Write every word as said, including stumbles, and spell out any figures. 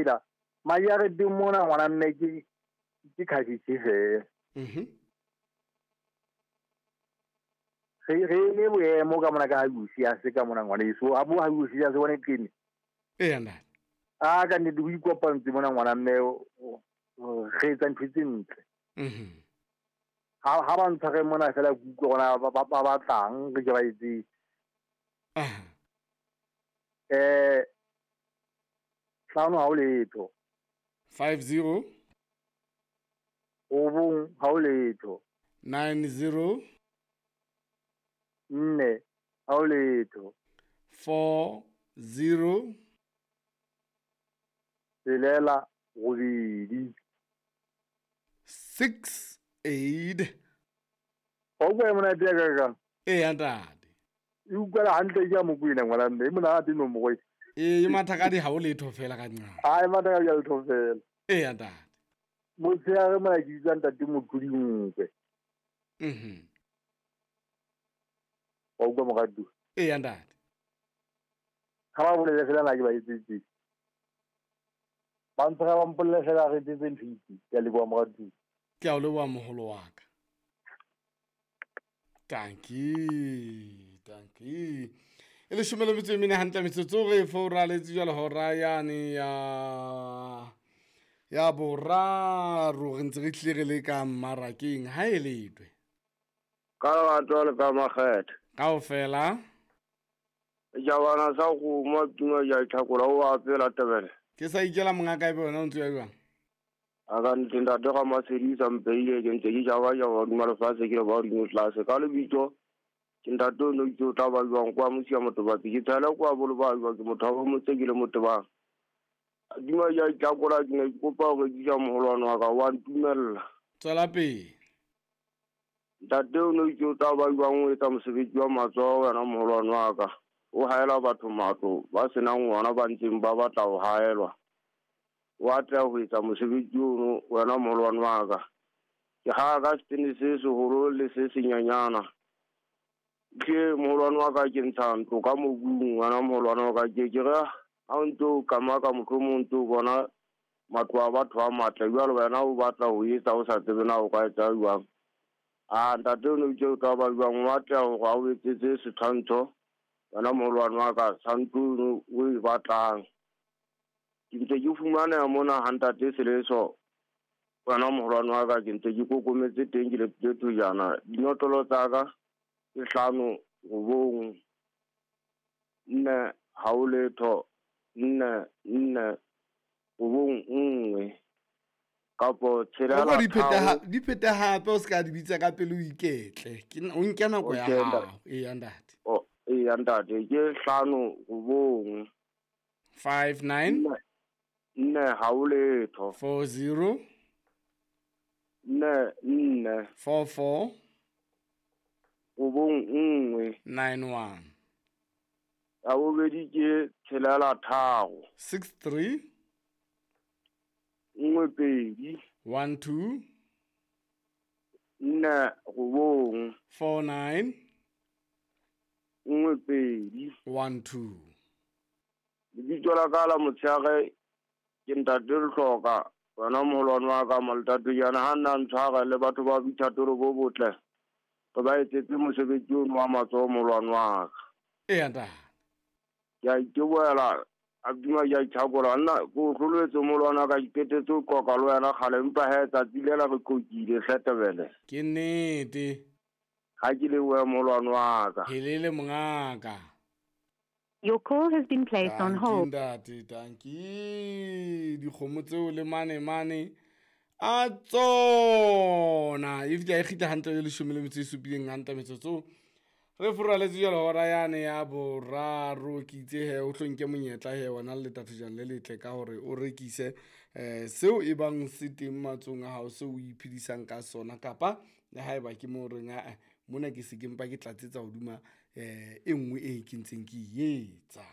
phela majareteng mona ngwana mme ke ke khabitse fela. Mhm. Re re le boemo ka mona ka ha Lucia se ka mona ngwana eso a bo ha Lucia se bone qene. Eya ntate. A ka nnete ho ikopantse mona ngwana mme re etsa ntho tse ntle. Mhm. Ha ha ba ntshware mona fela ke utlwe hore ba ba ba batlang re ke ba etse. Aha. Eh hlano ha o letho. five zero. Robong ha o letho. nine zero. Nne ha o letho. four zero. Tshelela robedi. six eight. Wa utlwa e monate ya ka kang? Eya ntate. E utlwela hantle ke ya Mokwena ngwana mme, e monate nomoro e. Ee, e mathakadi ha o letho fela ka nqa. Ha e mathakadi ha letho fela. Eya ntate. Motshehare mona ke bitsa ntate Motlodi Nkwe. Mhm. Wa utlwa moratuwa? Eya ntate. Ha ba bolele fela na ke ba etsetse. Ba ntshwara ba mpolelle fela re etsetse ntho e itseng. Ke a leboha moratuwa. Ke a o leboha moholo wa ka. Dankie, dankie. E leshome le metso e mene hantle metsotso re foraletse jwale hora yane ya ya boraro re ntse re tlile re le ka mmarakeng ha e letwe. Ka lerato le ka makgethe. Kaofela. Jabana sa go mo tuma ya tlhakola o a pela tebele. Ke sa ikela monga kae bona o ntse ya jwang? A ka ntse ntate ga Masedisa mpeile ke ntse ke jaba jaba hodima lefatshe ke le ba hodimo tlase ka lebitso ke ntate o no itse o tla ba jwang kwa mosia motobatsi ke tshela kwa bolo ba jwang ke motho wa motse ke le motebang. Dima ya tlakola ke ne ke kopa ho rekisa moholwane wa ka wa ntumella. Tswela pele. Ntate o no itse o tla ba jwang o etsa mosebetsi wa matsoho wena moholwane wa ka. O haela batho matlo ba senang ngwana ba ntseng ba batla ho haelwa. Wa tla ho etsa mosebetsi ono wena moholwane wa ka. Ke ha ka setene se seholo le se senyanyana. Ke moholwane wa ka ke ntsha ntlo ka mobung wena moholwane wa ka ke ke re ha o ntso kamaka mohlomong ntso bona matlo a batho a matle jwalo wena o batla ho etsa o sa tsebe na o ka etsa jwang. A ntate o no itse o tla ba jwang wa tla hore a o etsetse setshwantsho wena moholwane wa ka tshwantsho o e batlang. Ke ntse ke fumaneha mona ha ntate Seleso wena moholwane wa ka ke ntse ke kokometse teng ke lepile thojana. Dinotlolo tsa ka ke hlano robong nne ha o letho nne nne robong nngwe kapo tshelela di phete tharo. Di phete hape o ska di bitsa ka pele o iketle. Ke o nke nako ya Okay, hao. ntate. Eya ntate. O eya ntate ke hlano robong five nine nne nne ha o letho four zero nne nne four four robong nngwe nine one ya bobedi ke tshelela tharo six three nngwe pedi one two nne robong four nine nngwe pedi one two. Lebitso la ka la motshehare ke ntate Lehloka wena moholwane wa ka Maltatojana ha nna ntshwara le batho ba boithatelo bo botle re ba etsetse mosebetsi ono wa matsoho moholwane wa ka. Eya ntate. Ke a itebohela a duma ke a ithakola nna ko o hloletse moholwane wa ka ke qetetse ho qoqa le wena kgale empa he tsatsi lela re qoqile hle Tebele. Ke nnete. Ha ke lebohe moholwane wa ka. Helele mongaka. Your call has been placed on Dankie hold. ntate, dankie. Dikgomo tseo le mane mane a tsona. E fihla e kgitla hantle e leshome le metso e supileng hantle metsotso. Re foraletse jwale hora yane ya boraro ke itse he o tlo nke monyetla he wena le letathojana le letle ka hore o rekise eh seo e bang se teng matsong a hao seo o iphedisang ka sona kapa le haeba ke mo reng a mona ke se ke mpa ke tlatsetsa hodima eh e nngwe e ke ntseng ke e etsa.